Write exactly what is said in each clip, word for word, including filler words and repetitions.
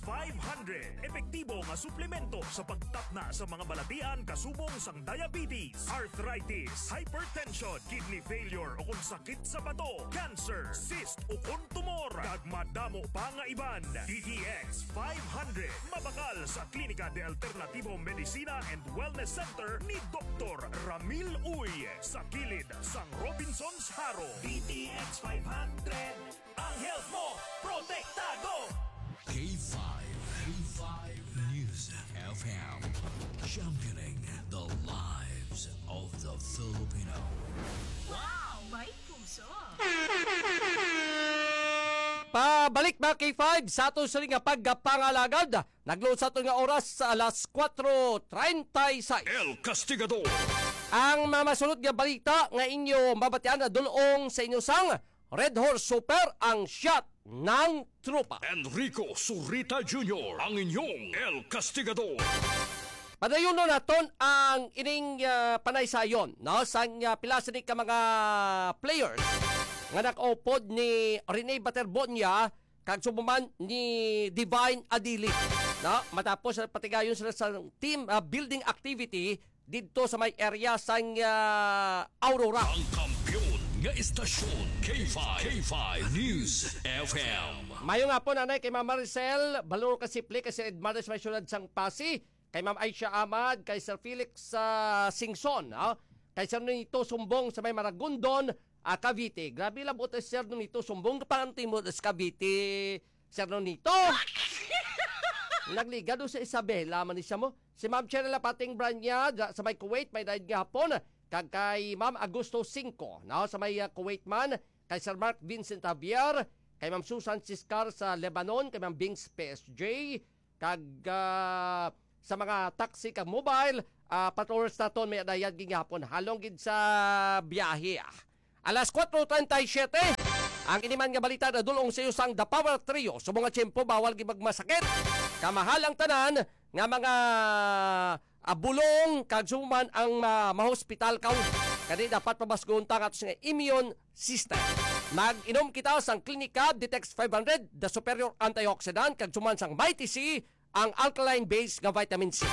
five hundred, epektibo nga suplemento sa pagtapna sa mga balatian kasubong sang diabetes, arthritis, hypertension, kidney failure, o kung sakit sa bato, cancer, cyst, o kung tumor, kag madamo pa nga iban. D T X five hundred, mabakal sa Klinika de Alternativo Medicina and Wellness Center ni Doktor Ramil Uy, sa kilid sang Robinsons Jaro. D T X five hundred, ang health mo, protektado! K five, K five News F M, championing the lives of the Filipino. Wow! May puso! Pabalik, mga K five, sa ato sini nga pagpangalagad. Nagluon sa ato nga oras sa alas kuwatro treinta y seis. El Castigador. Ang mga masunod nga balita nga inyo mabatian na dulong sa inyo sang Red Horse Super, ang shot ng tropa. Enrico Zurita Junior, ang inyong El Castigador. Padayonon naton ang ining, ah, panaysayon, no? Sang, ah, pila sini ka mga players nga nakaupod ni Rene Baterbonia kag subong man ni Divine Adili, no? Matapos sa patigayon sila sa team, ah, building activity didto sa may area sang, ah, Aurora. Ang kampiyon nga istasyon, K five, K five News F M. Mayong hapon, anay, kay Ma'am Maricel Baloro Kasiple, kay Sir Edmaris, may siyudad sang Pasi, kay Ma'am Aisha Ahmad, kay Sir Felix, ah, Singson, ah, kay Sir Nito Sumbong sa may Maragondon, ah, Cavite. Grabe lang buot si Sir Nito Sumbong, kapanganti mo sa Cavite, Sir Nito. Nagliga do sa Isabela man ni siya mo. Si Ma'am Cheryl Pating Branya, dya sa may Kuwait, may daid nga hapon. Kag kay Ma'am Agosto Cinco, no, sa may, ah, Kuwait man. Kay Sir Mark Vincent Javier, kay Ma'am Susan Siscar sa Lebanon, kay Ma'am Bings P S J, kag, ah, sa mga taxi kag mobile, ah, patrollers naton may dayag gihapon halong gid sa biyahe, ah. Alas kuwatro treinta y siete, ang ini man nga balita nadulong sa iyo sang The Power Trio. Sa mga tiyempo, bawal gid magmasakit. Kamahal ang tanan nga mga, ah, bulong kag suman ang, ah, mahospital ka. Kani dapat pabasgon ta nga ato nga immune system. Mag-inom kita sang Klinika Detox five hundred, the superior antioxidant, kag suman sang Mighty C, ang alkaline base nga vitamin C.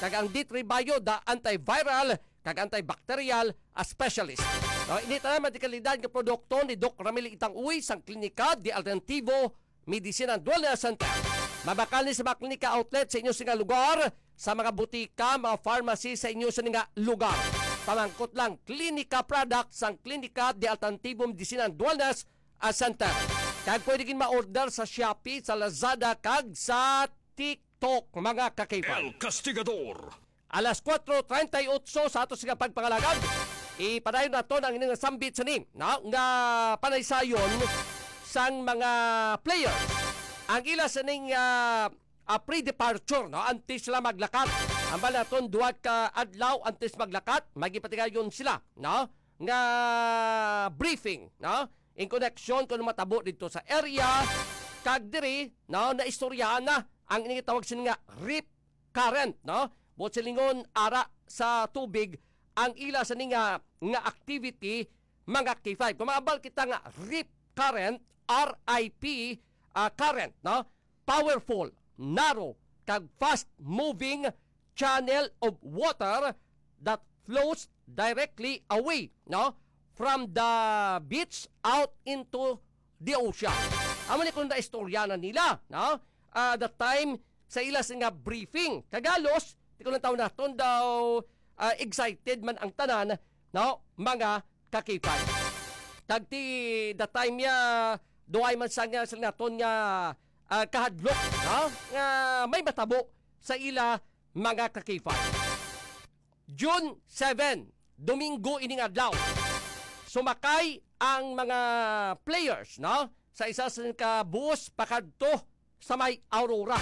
Kag ang D three Bio, the antiviral kag antibacterial, a specialist. No, ini tanan mga dekalidad nga produkto ni Doc Ramil Itang Uy sang Klinika de Alternativo Medicine and Wellness Center. Mabakal ni sa mga klinika outlet sa inyo sini nga lugar, sa mga butika, mga pharmacy sa inyo sini nga lugar. Pamangkot lang, Klinika products sang Klinika de Alternativo Medicine and Wellness, ah, Center. Kag pwede gid ma-order sa Shopee, sa Lazada, kag sa TikTok, mga ka-K five. El Castigador. Alas kuwatro treinta y ocho sa ato sini nga pagpangalagad. Ipadayon naton ang ining sambit sini, no, nga panaysayon sang mga players. Ang ila sining, ah, ah, pre-departure, no, antes sila maglakat. Ambal naton duha ka adlaw antes maglakat, magipatigayon sila, no, nga briefing, no, in connection kung matabo dito sa area. Kag diri, no, naistoryahan na ang ini tawag sini nga rip current, no? Buot silingon, ara sa tubig ang ila sini nga, nga activity, mga K five. Kung maabal kita nga rip current, R I P, ah, current, no? Powerful, narrow, kag fast-moving channel of water that flows directly away, no, from the beach out into the ocean. Amo ni kung naistorya na nila, no? Ah, the time sa ila sini nga briefing. Kag halos, ti ko lang taon naton daw, ah, excited man ang tanan, no? Mga ka-K five. Kag ti the time niya, duay man sa nga sila naton nga, ah, kahadlok, no, nga may matabo sa ila, mga ka-K five. June seven, Domingo ining adlaw, sumakay ang mga players, no, sa isa sa ka bus pakadto sa may Aurora.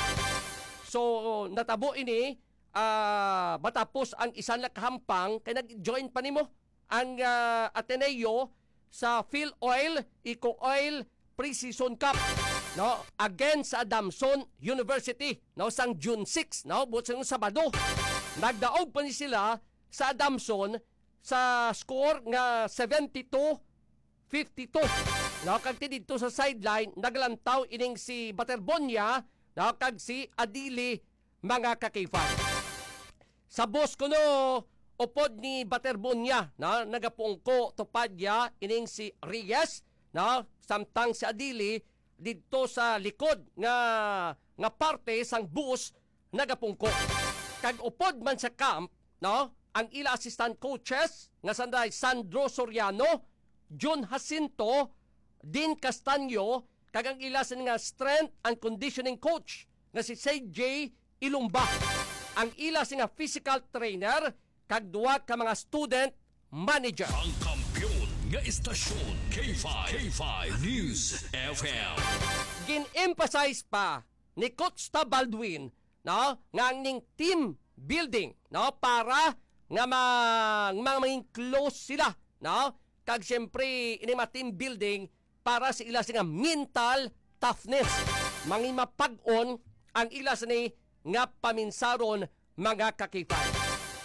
So, natabo ini, ah, matapos ang isa na kahampang kay nag-join pa nimo ang, ah, Ateneo sa PhilOil Eco Oil Pre-Season Cup, no, against sa Adamson University, no, sang June six, no, buot sang Sabado. Nagdaog pa ni sila sa Adamson sa score nga seventy-two fifty-two. No, kag ti didto sa sideline, naglantaw ining si Baterbonia, no, kag si Adili, mga ka-K five. Sa bus kuno, upod ni Baterbonia, no, nagapungko tupad niya ining si Reyes, no, samtang si Adili didto sa likod nga, nga parte sang bus nagapungko. Kag upod man sa camp, no, ang ila assistant coaches nga sanday Sandro Soriano, Jun Jacinto, Dean Castaño, kag ang ila sini nga strength and conditioning coach nga si C J Ilumba, ang ila sini nga physical trainer, kag duha ka mga student manager. Ang kampiyon nga istasyon, K five, K five News F M. Gin-emphasize pa ni Coach Tab Baldwin, no, nga ang ning team building, no, para nga ma-, ma-, maging close sila, no, kag siyempre ini mga team building para sa ila sini nga mental toughness, mangimapag-on ang ila sini nga paminsaron, mga ka-K five,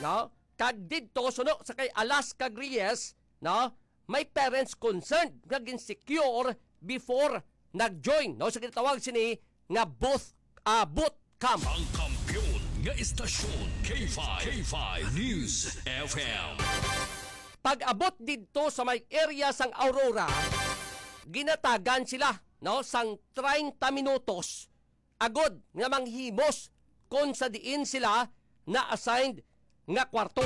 no? Kag didto suno sa kay Alas kag Reyes, no, may parents concerned nga gin-secure before nag-join, no, sa ginatawag sini nga booth, ah, boot camp. Ang kampiyon nga istasyon, K five, K five News F M. Pag-abot didto sa may area sang Aurora, ginatagan sila, no, sang treinta minutos agod nga manghimos kon sa diin sila na-assigned nga kwarto.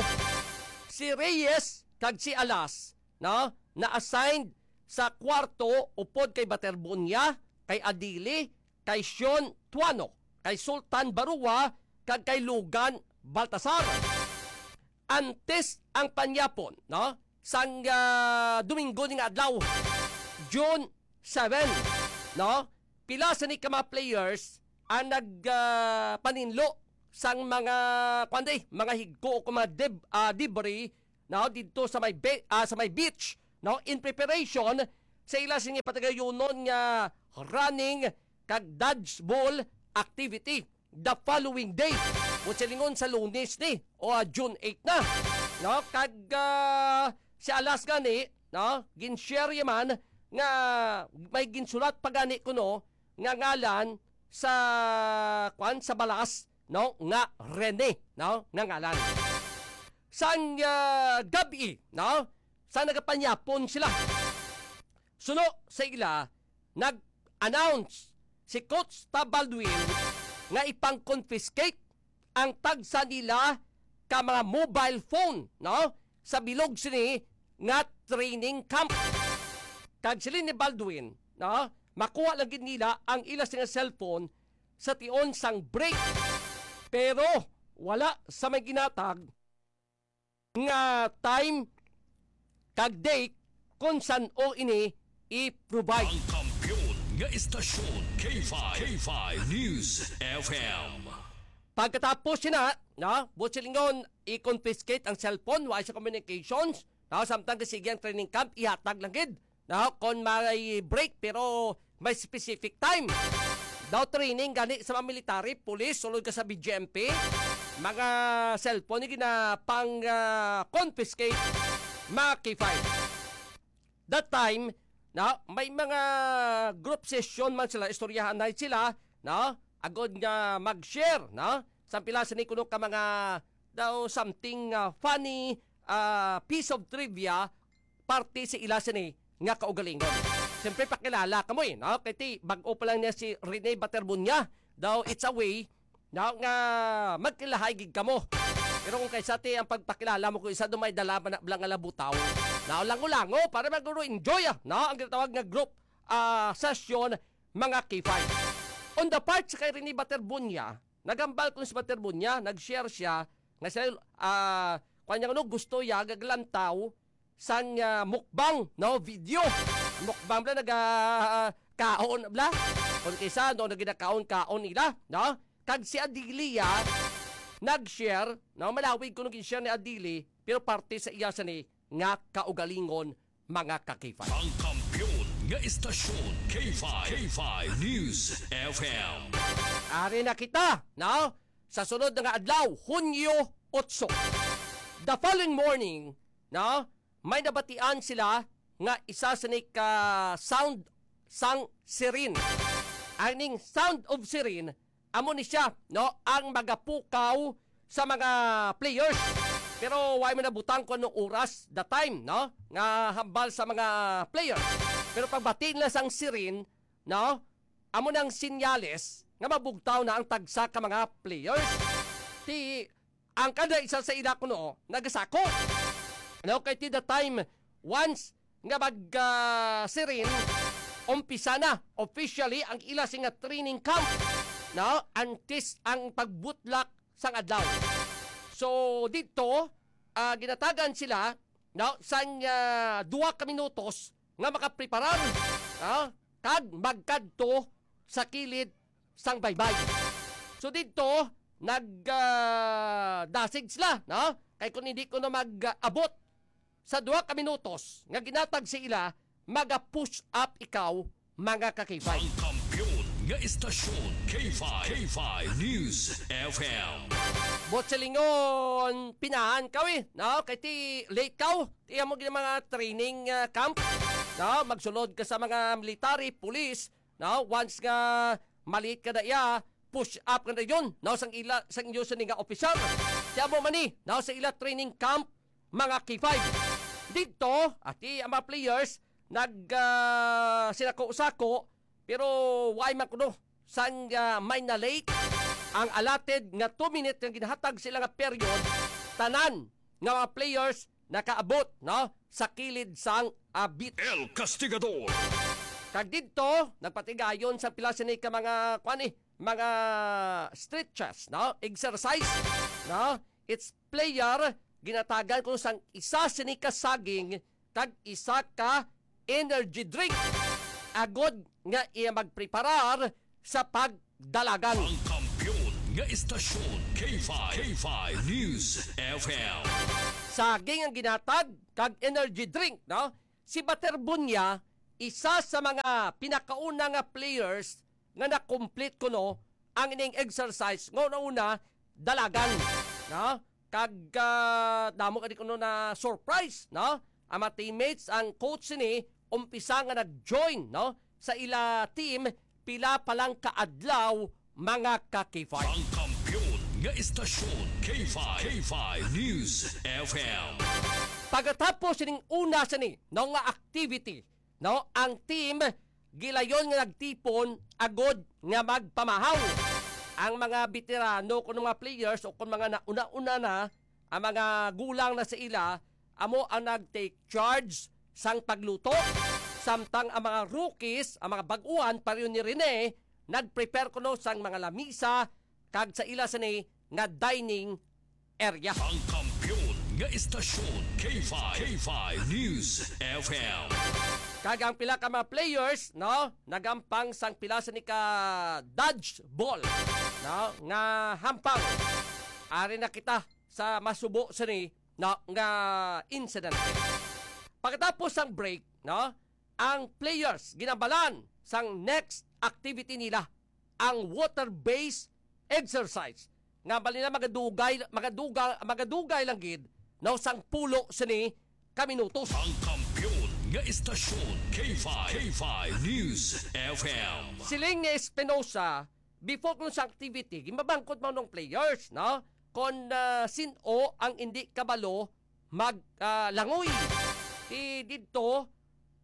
Si Reyes kag si Alas, no, na-assigned sa kwarto upod kay Baterbonia, kay Adili, kay Sean Tuano, kay Sultan Barua, kag kay Logan Baltasar. Antes ang panyapon, no, sang, ah, Domingo ni nga adlaw, June seven, no, pila sa ni ka mga players ang nag, ah, paninlo sang mga, kuwan di, mga higko o kung mga deb-, ah, debris, no, didto sa may be-, ah, sa may beach, no, in preparation sa ila sini patagayunon nga running kag dodgeball activity the following day. Buot silingon sa Lunes ni, o, ah, June eight na. No, kag, ah, si Alas gani, no, gin-share ya man nga may ginsulat pa gani kuno nga ngalan sa, kwan, sa balas, no, nga Rene, no, nga ngalan. Sang, ah, gab-i, no, sa nagapanyapon sila, suno sa ila, nag-announce si Coach Tab Baldwin nga ipang-confiscate ang tagsa nila ka mga mobile phone, no, sa bilog sini nga training camp. Kag siling ni Baldwin, no, makuha lang gid nila ang ila sini nga cellphone sa tion sang break. Pero wala sa may ginatag nga time kag date kon san-o ini i-provide. Ang kampiyon nga istasyon, K five, K five News F M. Pagkatapos sina, no, buot silingon, i-confiscate ang cellphone, wa sa communications, no, samtang sige ang training camp, ihatag lang gid, no, kon may break, pero may specific time. Daw training gani sa mga military, police, sulod ka sa B J M P, mga cellphone ni gina pang, ah, confiscate, mga K five. That time, no, may mga group session man sila, istoryahan na sila, no, agod nga mag-share, no, sa pila sini kuno ka mga daw something, ah, funny, ah, piece of trivia parte sa ila sini nga kaugalingon. Siyempre, pakilala kamo eh, no? Kay ti, bag-o pa lang niya si Rene Baterbunya. Daw, it's a way, no, nga magkilahay gid kamo. Pero kung kaysa ti ang pagpakilala mo kung isa dumay dala man na bala nga labutaw, no, lango-lango, para maguro enjoy, ah, no? Ang ginatawag nga group, ah, session, mga K five. On the part sa kay Rene Baterbunya, nagambal ko si Baterbunya, nag-share siya, nga siya, ah, kanya, ano, gusto ya gaglantaw sang, ah, mukbang, no, video. Mukbang bala, naga, ah, kaon bala. Kung kisa, no, naginakaon-kaon ila, no? Kag si Adili, ah, nag-share, no, malawig ko nung share ni Adili, pero parte sa iya sa ni nga kaugalingon, mga ka-K five. Ang kampiyon nga istasyon, K five, K five News F M. Ari na kita, no? Sa sunod na nga adlaw, Hunyo otso. The following morning, no? May nabatian sila nga isa sa ni ka sound sang siren. Ang ning sound of siren, amo ni siya, no, ang magapukaw sa mga players. Pero wa man nabutang kung anong oras, the time, no, nga hambal sa mga players. Pero pagbati nila sang siren, no, amo nang sinyales nga mabugtaw na ang tagsa ka mga players. Ti ang kada isa sa ila kuno nagasako. No, kay ti the time, once nga mag, ah, siren, umpisa na officially ang ila sing nga training camp, no, antes ang pagbutlak sang adlaw. So dito, ah, ginatagan sila, no, sang, ah, duha ka minutos nga makapreparar, no, kag magkadto sa kilid sang baybay. So didto, nag, ah, dasig sila, no? Kay kung hindi ko na mag-abot sa duha ka minutos nga ginatag sa ila, maga-push up ikaw, mga ka-K five. Ang kampiyon nga istasyon, K five, K five News F M. Bot silingon, pinahan kaw eh, no? Kay ti late kaw, ti amo gid mga training, ah, camp, no? Magsulod ka sa mga military, police, no? Once nga malit ka na iya, push up ka na yun, no? Sang ila, sang inyo sini nga officer. Kaya mo man ni, no? Sa ila training camp, mga K five. Dito, ati ang mga players, nag, ah, sinako-sako, pero why man kuno? Sang, ah, may na-late ang allotted nga two minute nga ginahatag sila nga period, tanan nga mga players nakaabot, no, sa kilid sang abit. El Castigador. Kag didto, nagpatigayon sa pila sini ka mga, kuan eh, mga stretches, no? Exercise, no? Each player, ginatagan ko sang isa sini ka saging kag isa ka energy drink. Agod nga iya magpreparar sa pagdalagan. Ang kampiyon nga istasyon, K five, K five News F M. Saging ang ginatag kag energy drink, no? Si Bater Bunya, isa sa mga pinakauna nga players nga na-complete kuno ang ining exercise nga una-una dalagan, no? Kag, ah, damo ka di kuno na surprise, no? Ang mga teammates, ang coach sini, umpisa nga nag-join, no, sa ila team, pila pa lang ka adlaw, mga ka-K five. Ang kampiyon nga istasyon, K five, K five News F M. Pagkatapos sining una sini, no, nga activity, no, ang team gilayon nga nagtipon agod nga magpamahaw. Ang mga veterano, kung mga players o kung mga nauna-una na, ang mga gulang na sa ila, amo ang nag-take charge sang pagluto. Samtang ang mga rookies, ang mga bag-uhan, pareho ni Rene, nag-prepare kuno sang mga lamisa kag sa ila sini nga dining area. Ang kampiyon nga istasyon, K five, K five News F M. Kag ang pila ka mga players, no, nagampang sang pila sini ka dodgeball, no, nga hampang. Ari na kita sa masubo sini, no, nga incident. Pagkatapos sang break, no, ang players ginabalan sang next activity nila, ang water-based exercise. Nga bali na magadugay, magaduga-, magadugay lang gid, no, sang pulo sini ka minutos. Ang kampiyon nga istasyon, K five, K five News F M. Siling ni Espinosa, before kuno sa activity, gimabangkot man ng players, no? Kon, ah, sin-o ang indi kabalo mag, ah, langoy. Ti didto,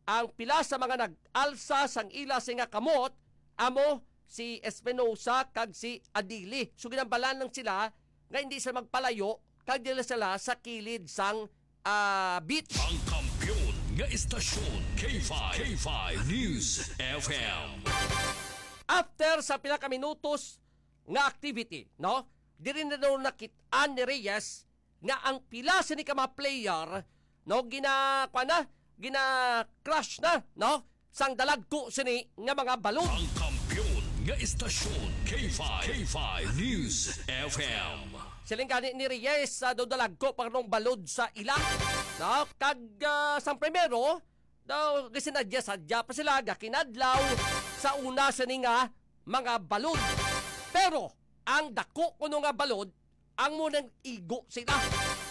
ang pila sa mga nag-alsa sang ila sini nga kamot amo si Espinosa kag si Adili. So, ginambalan lang sila nga hindi sila magpalayo kag dila sila sa kilid sang, ah, beach. Ang kampiyon nga istasyon, K five, K five News F M. After sa pila ka minutos nga activity, no? Diri na daw nakit-an ni Reyes nga ang pila sini ka mga player, no, gina-, kuwan na, gina-crush na, no, sang dalagko sini nga mga balon. Ang kampiyon nga istasyon, K five, K five News F M. Siling gani ni Reyes, ah, daw dalagko pa nung balod sa ila, no? Kag, ah, sang primero, daw, gisinadya-sadya pa sila, gakinadlaw sa una sini nga mga balod. Pero, ang dako kuno nga balod, ang mo nang igo sila.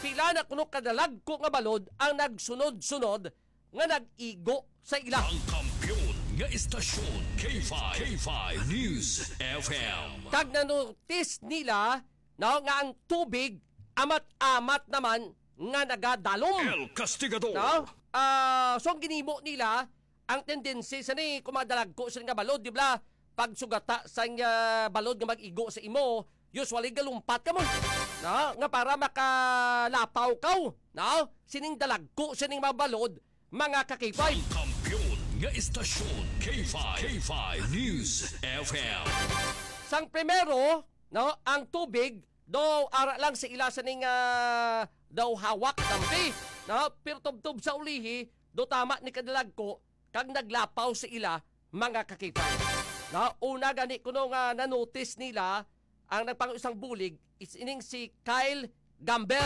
Pila na kuno kadalagko nga balod ang nagsunod-sunod nga nag-igo sa ila. Ang kampiyon nga istasyon, K five, K five News F M. Kag nanotis nila, no, nga ang tubig amat-amat naman nga nagadalom. El Castigador. No? Ah, so ang ginimo nila, ang tendency sa ni, kung madalagko sila nga balod, di ba? Pag sugata sa, ah, balod nga mag-igo sa imo, usually galumpat ka mo. No? Nga para makalapaw ka, no? Sining dalagko, sining mabalod, mga kakipay. Ang kampiyon nga istasyon, K five, K five News F M. Sang primero, no, ang tubig, daw ara lang sa ila sa ning, ah, daw hawak, dampi, no? Pero tubtob sa ulihi, do tama ni kadalagko, kag naglapaw sa ila, mga kakipay. No? Una gani kuno nga nanotis nila, ang nagpangulo sang bulig is ining si Kyle Gamber.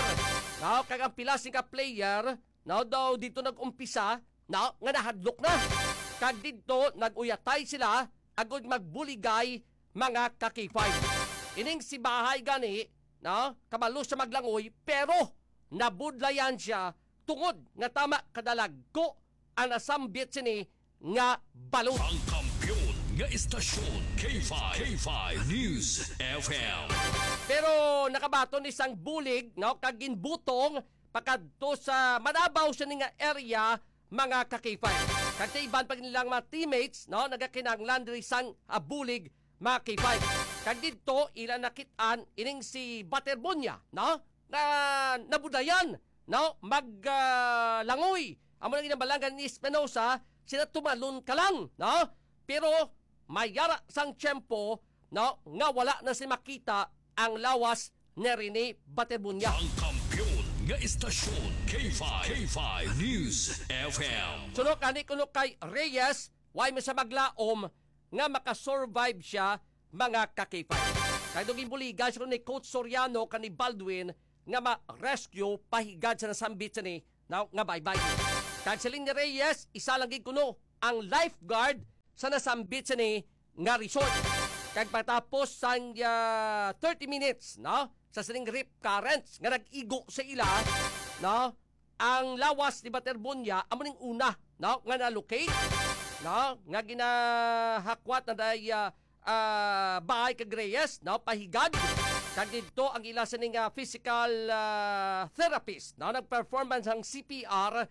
No? Kag ang pila sing ka player, no, daw dito nag-umpisa, no, nga nahadlok na. Kag dito nag-uyatay sila agud magbuligay, mga kakipay. Ining si Bahay gani, no, kabalo siya maglangoy, pero nabudlayan siya tungod nga tama kadalagko ang nasambit sini nga balod. Ang kampiyon nga istasyon, K five, K five News F M. Pero nakabaton ni sang bulig, no, kag ginbutong pakadto sa manabaw sini nga area, mga kakipay. Kag sa iban pa nilang mga teammates, no, nagakinahanglan diri sang, ah, bulig, mga kakipay. Kag didto ila nakit-an ining si Baterbonia, no, nga nabudayan, no, mag, ah, langoy. Amo na ginambalangan ni Espinosa, sila tumalon ka lang, no? Pero mayara sang tiyempo, no, nga wala na si makita ang lawas ni Rene Baterbunya. Ang kampiyon nga istasyon, K five, K five News F M. Sunod ani kuno kay Reyes, way man sa maglaom nga makasurvive siya, mga kakipay. Kay do ginbuligan siya ni Coach Soriano kani Baldwin nga ma-rescue pahigad sa nasambit sini, no, nga baybay. Kag siling ni Reyes, isa lang gid kuno ang lifeguard sa nasambit sini nga resort. Kag pagtapos sang, ah, thirty minutes, no, sa sining rip currents nga nag-igo sa ila, no, ang lawas ni Baterbonya amo ning una, no, nga na-locate, no, nga ginahakwat na day, ah, ah, bahay kag Reyes, no, pahigad. Kag didto ang ila sining, ah, physical, ah, therapist, no, nag-perform man sang C P R,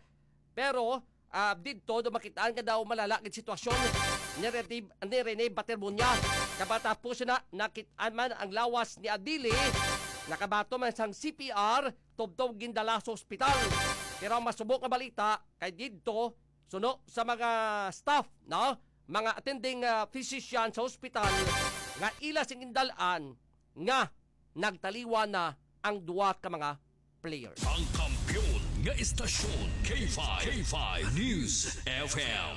pero, ah, didto do makitaan nga daw malala gid sitwasyon ni Rene, ni Rene Baterbonya. Kapatapos na, nakitaan man ang lawas ni Adili, nakabato man sang C P R, tubtob gindala sa ospital. Pero ang masubok nga balita kay didto, suno sa mga staff, no, mga attending, ah, physician sa ospital, nga ila sing gindal-an nga nagtaliwan na ang duha ka mga players. Ang kampiyon nga istasyon, K five, K five News F M.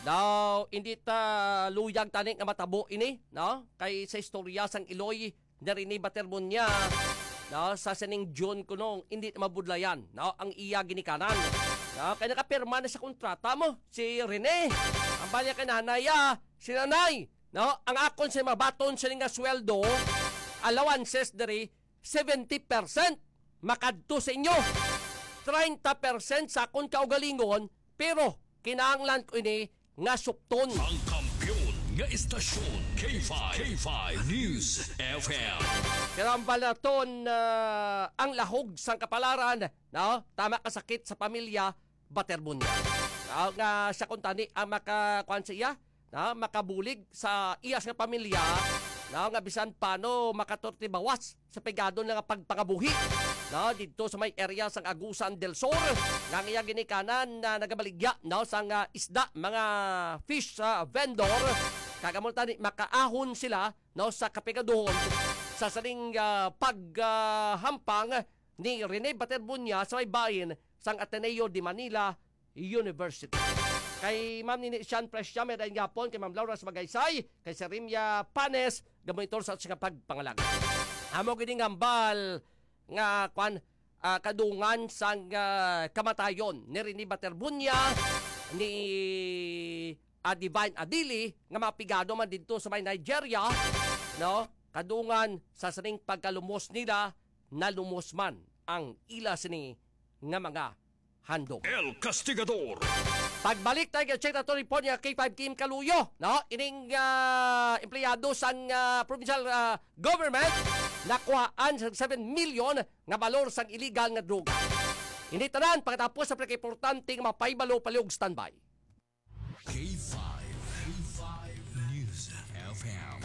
Now, hindi ta luyag tani nga matabo ini, no? Kay sa istorya sang Iloy, ni Rene Baterbonya, no, sa sining June kuno, hindi na mabudlayan, no, ang iya ginikanan. No, kay nakapirma na sa kontrata mo si Rene. Ang bali kay nanay, ah, si nanay, no, ang akon sa mabaton sini nga sweldo, allowances diri, seventy percent makadto sa inyo. Treinta percent sa akon kaugalingon, pero kinahanglan ko ini nga supton. Ang kampiyon nga istasyon, K five, K five News F M. Pero ang balaton, ah, ang lahog sang kapalaran, no? Tama ka sakit sa pamilya, Baterbonya. No? Nga siya kuntani ang makakuan sa iya, no? Makabulig sa iya sa pamilya, no? Nga bisan pano makatortibawas sa pigado na nga pagpangabuhi, no, didto sa may area sang Agusan del Sur, nga ang iya ginikanan na nagabaligya, no, sang, ah, isda, mga fish, ah, vendor, kag amo tani makaahon sila, no, sa kapigaduhon sa sining, ah, pag, ah, hampang ni Rene Baterbunya sa may bahin sang Ateneo de Manila University. Kay Ma'am Nini Sian Presia, may dayon gihapon kay Ma'am Laura Sabagaysay, kay Sir Rimia Panes, gamonitor sa aton nga pagpangalag. Amo gid ning hambal nga, kwan, ah, kadungan sang, ah, kamatayon ni Rene Baterbunya, ni, ah, Divine Adili, nga mapigado man didto sa may Nigeria, no? Kadungan sa sining pagkalumos nila, nalumos man ang ila sini nga mga handom. El Castigador. Agbalik tayo kay check nato report nga K five Kim Kaluyo, no? Ining, ah, empleyado sang, ah, provincial, ah, government nakuhaan sa seven million nga balor sang illegal nga droga. Ini tanan pagkatapos sa pinakaimportante nga mga pahibalo, palihog standby. K five, K five News F M,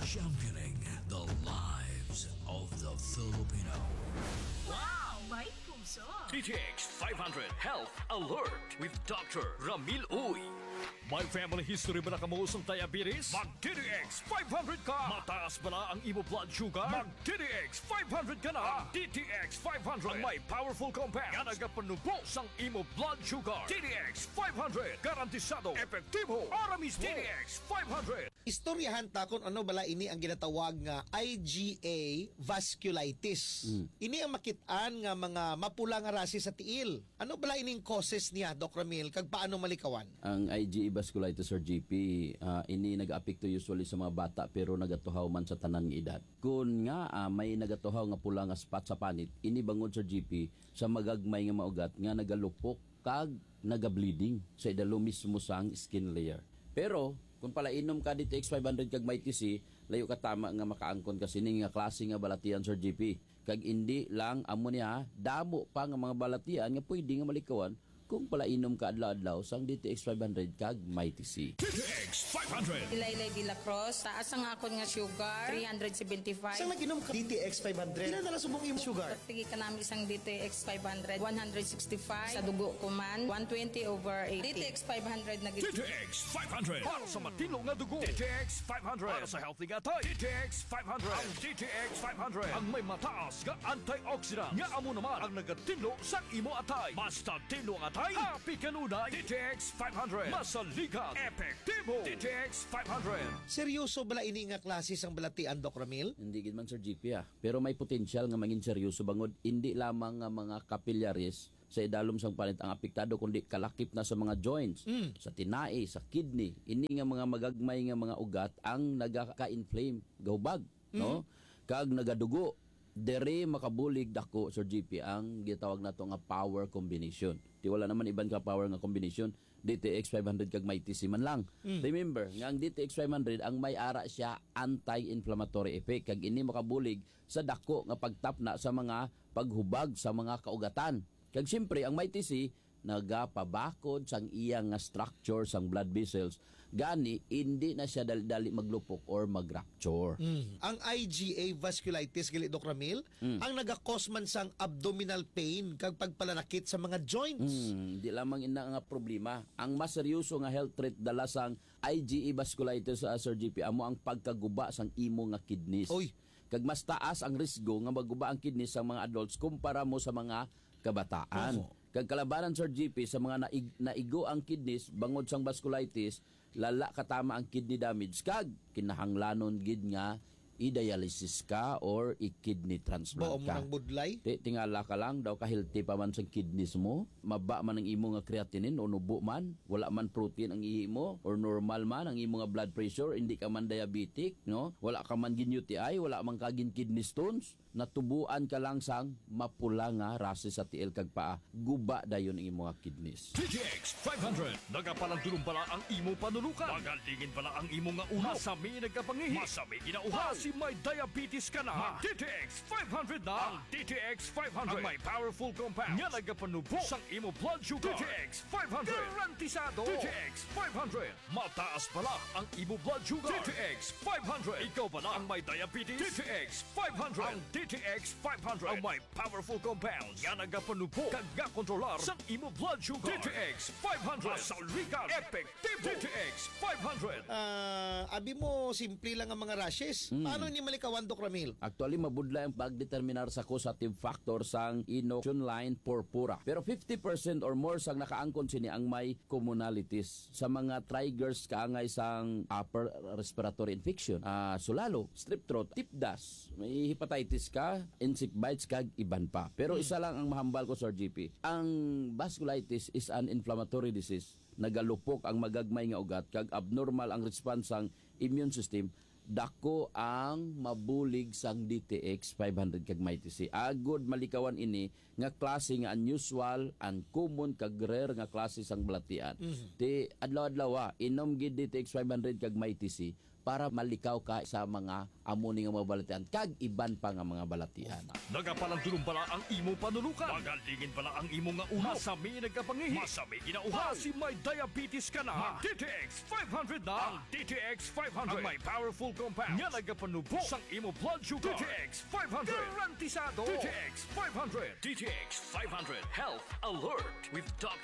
championing the lives of the Filipino. Wow! May puso! D T X five hundred Health Alert with Doctor Ramil Uy. May family history ba na kamo sang diabetes? Mag D T X five hundred ka! Mataas bala ang imo blood sugar? Mag D T X five hundred ka na! Ang D T X five hundred ang may powerful compound nga nagapanubo sang imo blood sugar. D T X five hundred, garantisado, epektibo, para mismo. D T X five hundred. Istoryahan ta kung ano bala ini ang ginatawag nga I G A vasculitis. Mm. Ini ang makit-an nga mga mapula nga rashes sa tiil. Ano bala ining causes niya, Doc Ramil, kag paano malikawan? Ang I G A vasculitis or G P, ah, ini nag-apekto usually sa mga bata pero nagatuhaw man sa tanan nga edad. Kun nga, ah, may nagatuhaw nga pula nga spot sa panit, ini bangod, Sir G P, sa magagmay nga mga ugat nga nagalupok kag nagableeding sa idalom mismo sang skin layer. Pero kung palainom ka D T X five hundred kag Mighty C, layo ka tama nga makaangkon ka sini nga klase nga balatian, Sir G P. Kag indi lang amo niya, damo pa nga mga balatian nga pwede nga malikawan kung palainom ka adlaw-adlaw sang D T X five hundred kag Mighty C. D T X five hundred. Ilaylay de la Cruz, taas ang akon nga sugar, three hundred seventy-five. Sang nag-inom ka D T X five hundred, pila na lang subong imong sugar? Pagtigi ka nami sang D T X five hundred, one hundred sixty-five. Sa dugo ko man, one twenty over eighty. D T X five hundred na gid. D T X five hundred. Para sa matinlo nga dugo. D T X five hundred. Para sa healthy nga atay. D T X five hundred. Ang D T X five hundred ang may mataas nga antioxidant nga amo naman ang nagatinlo sang imo atay. Basta tinlo ang atay, happy kanunay. D T X five hundred. Masaligan. Epektibo. D T X five hundred. Seryoso bala ini nga klase sang balatian, Doc Ramil? Hindi gid man, Sir G P, ah. Pero may potensyal nga mangin seryoso bangod hindi lamang nga mga capillaries sa idalom sang panit ang apektado, kundi kalakip na sa mga joints, Mm. sa tinai, sa kidney. Ini nga mga magagmay nga mga ugat ang nagaka-inflame, gahubag, no? Mhm. Kag nagadugo. Diri makabulig dako, Sir G P, ang gitawag nato nga power combination. Ti wala naman iban ka power nga combination, D T X five hundred kag Mighty C man lang. Mm. Remember nga ang D T X five hundred ang may ara siya anti-inflammatory effect, kag ini makabulig sa dako nga pagtapna sa mga paghubag sa mga kaugatan. Kag siyempre, ang Mighty C nagapabakod sang iya nga structure sang blood vessels, gani indi na siya dali-dali maglupok or mag-rupture. Mm. Ang I G A vasculitis, gali, Doc Ramil, Mm. ang nagakos man sang abdominal pain kag pagpalanakit sa mga joints. Mm, di lamang ina nga problema. Ang mas seryoso nga health threat dala sang I G A vasculitis, ah, Sir G P, amo ang pagkaguba sang imo nga kidneys. Oy. Kag mas taas ang risgo nga maguba ang kidneys sang mga adults kumpara mo sa mga kabataan. Oho. Kag kalabanan, Sir G P, sa mga naig-, naigo ang kidneys bangod sang vasculitis, lala katama ang kidney damage kag kinahanglanon gid nga i-dialysis ka or i-kidney transplant Bao mo ka. Nang budlay? Ti, tingala ka lang, daw ka-healthy pa man sang kidneys mo, maba man ang imo nga creatinine o nubo man, wala man protein ang ihi mo, or normal man ang imo nga blood pressure, hindi ka man diabetic, no? Wala ka man gin-U T I, wala man ka gin-kidney stones, natubuan ka lang sang mapula nga rashes sa tiil kag paa, guba dayon ang imo nga kidneys. D T X five hundred. Nagapalandulong bala ang imo panulukan? Magalingin bala ang imo nga ulo? Masami nagkapangihi? Masami ginauhaw? Basi may diabetes ka na? Mag D T X five hundred na. Ang D T X five hundred ang may powerful compound nga nagapanubo sang imo blood sugar. D T X five hundred. Garantisado. D T X five hundred. Mataas bala ang imo blood sugar? D T X five hundred. Ikaw bala ang may diabetes? D T X five hundred. Ang D T X five hundred ang may powerful compounds nga nagapanubo kag gakontrolar sang imo blood sugar. D T X five hundred. Masaligan. Epektibo. D T X five hundred. Ah, abi mo, simple lang ang mga rashes. Hmm. Paano ni malikawan, Doc Ramil? Actually, mabudlay ang pagdeterminar sa causative factor sang inoculum purpura. Pero fifty percent or more sang nakaangkon sini ang may commonalities sa mga triggers kaangay sang upper respiratory infection, ah, sulalo, strep throat, tip dust, may hepatitis ka, insect bites, kag iban pa. Pero Hmm. isa lang ang mahambal ko, Sir G P. Ang vasculitis is an inflammatory disease. Nagalupok ang magagmay nga ugat kag abnormal ang response sang immune system Dako ang mabulig sang D T X five hundred kag Mighty C. Agod malikawan ini nga klase nga unusual, uncommon, kag rare nga klase sang balatian. Mhm. Ti adlaw-adlaw, ah, inom gid D T X five hundred kag Mighty C para malikaw ka sa mga amo ni nga mga balatian kag iban pa nga mga balatian. Nagapalandulong bala ang imo panulukan? Magalingin bala ang imo nga ulo? Masami nagkapangihi? Masami ginauhaw? Basi may diabetes ka na? Mag D T X five hundred na. Ang D T X five hundred. Ang may powerful compound nga nagapanubo sang imo blood sugar. D T X five hundred. Garantisado. D T X five hundred. D T X five hundred Health Alert with Doctor